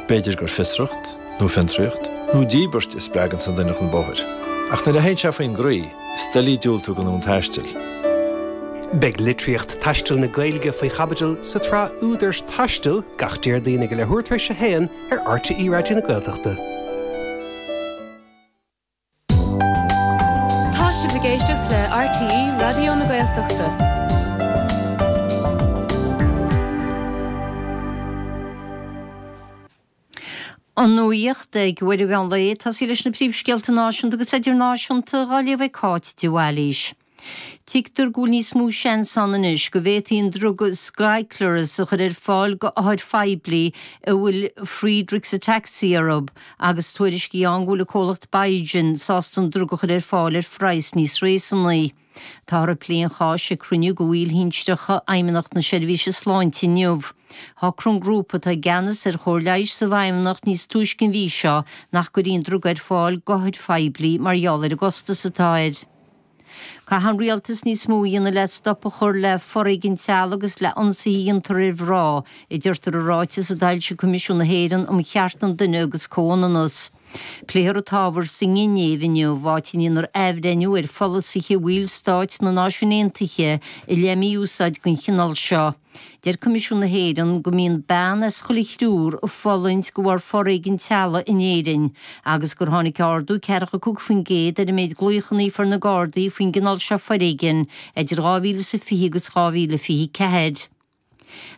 B'fhéidir gur fiosracht, nó fiontraíocht, nó díbirt a spreaganns an duine chun bóthair. Ach nuair a théann sé faoin gcroí, is doiligh diúltú don fhonn taistil. Beidh litríocht taistil na Gaeilge faoi chaibidil sa tsraith Údair Taistil gach Déardaoin ag a leathuair tar éis a haon ar RTÉ Raidió na Gaeltachta. Tá sibh ag éisteacht le RTÉ Raidió na Gaeltachta. An nuacht ag uair an mheán lae, tosaí leis na príomhscéalta náisiúnta agus idirnáisiúnta dhá léamh ag Cáit de Bhailís. Tuigtear go bhfuil níos mó seans ann anois go bhféadfaí an druga Skyclarys a chur ar fáil go othair phoiblí a bhfuil Friedreich's Ataxia orthu agus tuairiscí ann go bhfuil an comhlacht Biogen sásta an druga a chur ar fáil ar phraghas níos réasúnaí. Táthar ag plé an cháis ag cruinniú de bhaill shinsearacha Fheidhmeannacht na Seirbhíse Sláinte inniu. Shocraigh an grúpa atá i gceannas ar chóir leighis sa bhFeidhmeannacht níos túisce an mhí seo nach gcuirfí an druga ar fáil d'othair phoiblí mar gheall ar an gcostas atá air. Caithfidh an rialtas níos mó a dhéanamh le stop a chur le foréigean teaghlaigh agus le ionsaithe a dhéantar ar mhná, a deirtear i ráiteas a d'fhoilsigh Coimisiún na hÉireann um Chearta an Duine agus Comhionannas. Pléifear an t-ábhar sa nGinéiv inniu, áit a ndéanfar athbhreithniú ar pholasaithe bhaill stáit na Náisiún Aontaithe i leith mí-úsáid den chineál seo. Deir Coimisiún na hÉireann go mbíonn bean as chuile thriúr ag fulaingt de bharr foréigean teaghlaigh in Éirinn agus gur tháinig ardú 45% ar an méid glaochanna a fuair na Gardaí faoin gcineál seo foréigin idir 2020 agus 2024.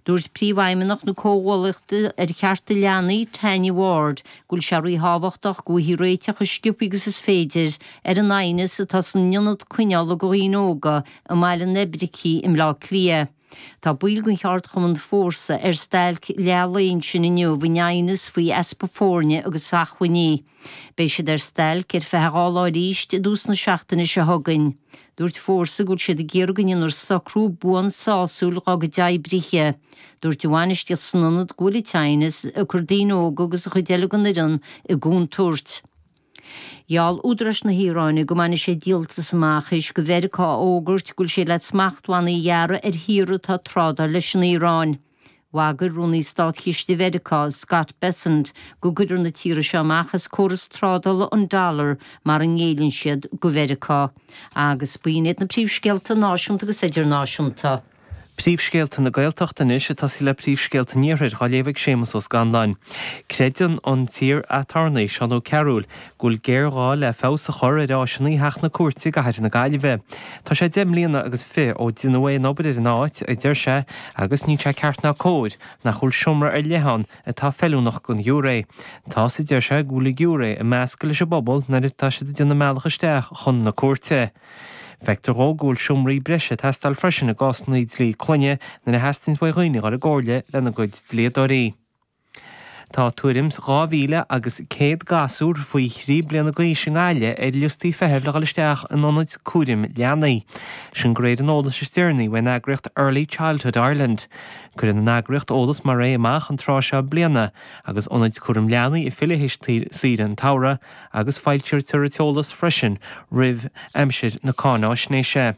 Dúirt Príomhfheidhmeannach na Comhghuaillíochta ar Chearta Leanaí, Tanya Ward, go bhfuil sé ríthábhachtach go bhfaighfí réiteach chomh sciobtha agus is féidir ar an aighneas atá san ionad coinneála do dhaoine óga i mBaile an Oibricigh i mBleá Cliath. Tá baill den cheardchumann Fórsa ar stailc leath lae ansin inniu in aighneas faoi easpa foirne agus acmhainní. Beidh siad ar stailc ar feadh 2 lá arís i dtús na seachtaine seo chugainn. Dúirt Fórsa go bhfuil siad ag iarraidh go ndéanfar socrú buan sásúil dhá gcuid oibrithe. Dúirt an bhainistíocht san ionad go bhfuil an t-aighneas ag cur daoine óga agus an chuid eile den fhoireann i gcontúirt. Gheall údaráis na hIaráine go mbainfidh siad díoltas amach théis do Mheiriceá a fhógairt go bhfuil sé le smachtbhannaí a ghearradh ar thíortha atá ag trádáil leis an Iaráin. Bhagair Rúnaí Státchiste Mheiriceá, Scott Bessent, go gcuirfear na tíortha seo amach as córas trádála an dollar mara ngéilleann siad do Mheiriceá. Agus b'in iad na príomhscéalta náisiúnta agus idirnáisiúnta. Príomhscéalta na Gaeltachta anois, ag tosaí le príomhscéalta an Iarthair, á léamh ag Séamus Ó Scanláin. Creideann an t-iar-aturnae, Seán Ó Cearúil, go bhfuil géarghá le feabhas a chur ar áiseanna Theach na Cúirte i gcathair na Gaillimhe. Tá sé 10 mbliana agus fi ó deineadh aon obair ar an áit, a deir sé, agus níl sé ceart ná cóir nach bhfuil seomra ar leith ann atá feiliúnach don ghiúiré. Tá's, a deir sé, go bhfuil an giúiré ag meascadh leis an bpobal nuair atá siad ag déanamh a mbealach isteach chun na cúirte. Feictear dhó go bhfuil seomraí breise ag teastáil freisin i gcásanna dlí clainne nuair a theastaíonns uaidh dhaoine dhul i gcomhairle lena gcuid dlíodóirí. Tá tuairim 's 2,000 agus 100 gasúr faoi thrí bliana d'aois i nGaillimh ar liostaí feithimh le dhul isteach in ionaid cúraim leanaí. Sin de réir an eolais is deireanaí uaidh an eagraíocht Early Childhood Ireland. Cuireann an eagraíocht eolas mar é amach an tráth seo bliana agus ionaid cúraim leanaí ag filleadh théis saoire an tsamhraidh agus foilsítear an t-eolas freisin roimh aimsir na cáináisnéise.